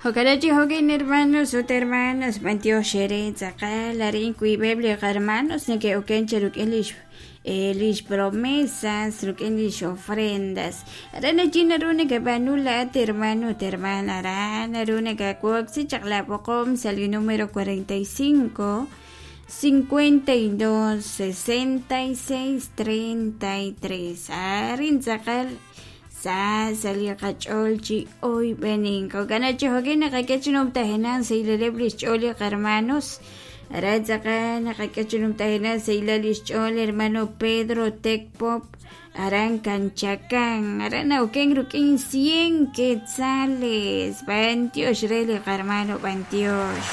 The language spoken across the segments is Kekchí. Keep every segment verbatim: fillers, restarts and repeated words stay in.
Jo'kan hokin hermanos ut hermanas b'antiox xere tz'aqal arin kuib'eb' li qarmanos neke'oken che ruk'in lix eh, lix promesas ruk'in lix ofrendas aran achi naru nakab'anu laat hermano ut hermana aran naru nakawoksi chaq la b'oqom sa' li número cuarenta y cinco cincuenta y dos sesenta y seis treinta y tres arin tz'aqal sa sali qach'ol chi oyb'enin jo'kan chi jo'kin naqak'e numtajinan sayleleb' lix ch'ool li qarmanos ara tz'aqal naqak'e numtajinan saylal lix ch'ool hermano Pedro Tecpop aran Kanchakan aran nawken ruk'in cien quetzales b'antiox re li qarmano b'antiox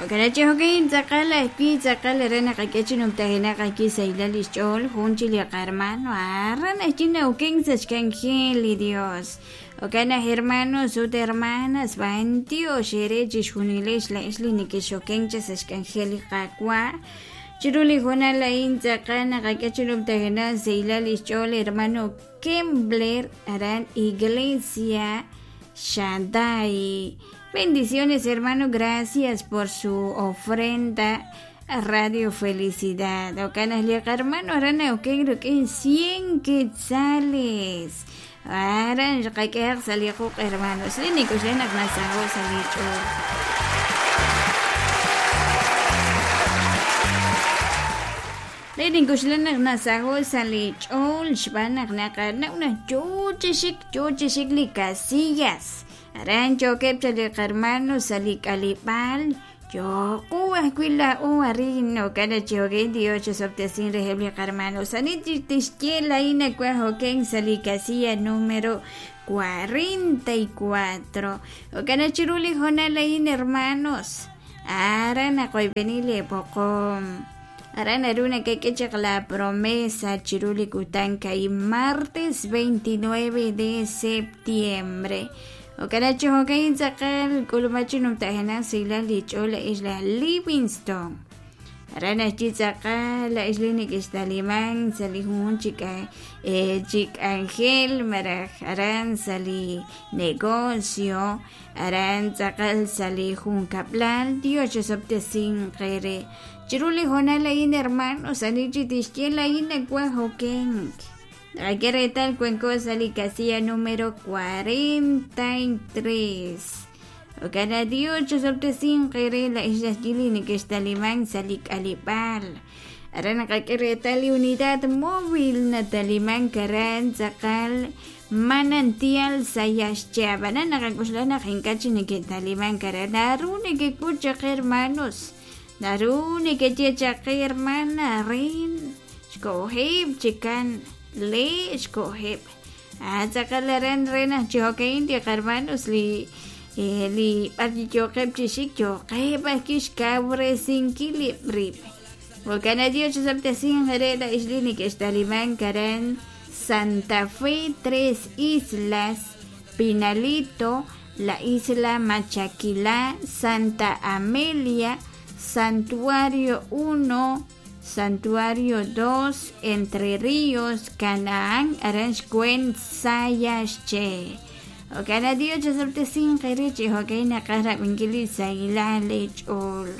Jo'kan chi jo'kin tz'aqal ajwi' tz'aqal ara naqak'e chi numtajenaq ajwi' saylal lix ch'ool jun chi li qarmano aran ajwi' nawken sa' xk'anjel li Dios jo'kan aj hermanos ut hermanas b'antiox ere chixjunilex la'ex li nekexoken cha sa' xk'anjel li Qaawa' chiru li jonal a'in tz'aqal naqak'e chi numtajenaq saylal lix ch'ool hermano Kembler aran Iglesia Shaddai. Bendiciones, hermano, gracias por su ofrenda a Radio Felicidad. Ocanas liaq hermano, arana oken rukin cien quetzales. Aran xqak'eq saliquq hermanos. Linikuxlenak nasajo salich'ul. Linikuxlenak nasajo salich'ul xb'anaq naqanawna chuchixik chuchixik li casillas. Aran chokeb chali qarmano sali kalipal yoku ajwi' o arin okana chihoken Dios chosoptesin reheb li qarmano sanit tixye laina kwa hoken sali casilla número cuarenta y cuatro okana chiruli jonal lain hermanos aran aqoybenile poqom aran aruna que quechaq la promesa chiruli kutanka y martes veintinueve de septiembre Okanachi hokain tz'aqal k'ulumachi numtajinan silal lich'ool isla Livingston. Aran ajchi tz'aqal la isla nik'ixtaliman sali jun chik eh, chik angel maraj aran sali negocio aran tz'aqal sali jun kaplal Dios chosoptesin qere chiruli jonal ayin hermanos anichi tixye lain akwa hoken. Aquí tal cuenco sali casilla número cuarenta y tres. Ocana Dios chosoptesin qere la isla chilini que está limán salik alipal. Arana kakere tal unidad móvil natalimán karan tzaqal manantial sayaschaba. Nana kakuslana jinkachi ni que talimán karan narune que kucha hermanos. Narune que checha hermana rin. Xkohib chikan. Le xkoheb atzaqalaran rena chihokein ti hermanos li eh, li parchichoqeb chixik choqeb ajkix kawresinkilib rib Okana Dios chosoptesin jere la isli nikextaliman karan Santa Fe Tres Islas Pinalito la Isla Machaquilá Santa Amelia Santuario uno Santuario dos, Entre Ríos, Canaán, Aranjuez, Sayasche. Okana Dios chosoptesin qerichi hokayna qarra winkili saylal lech'ol.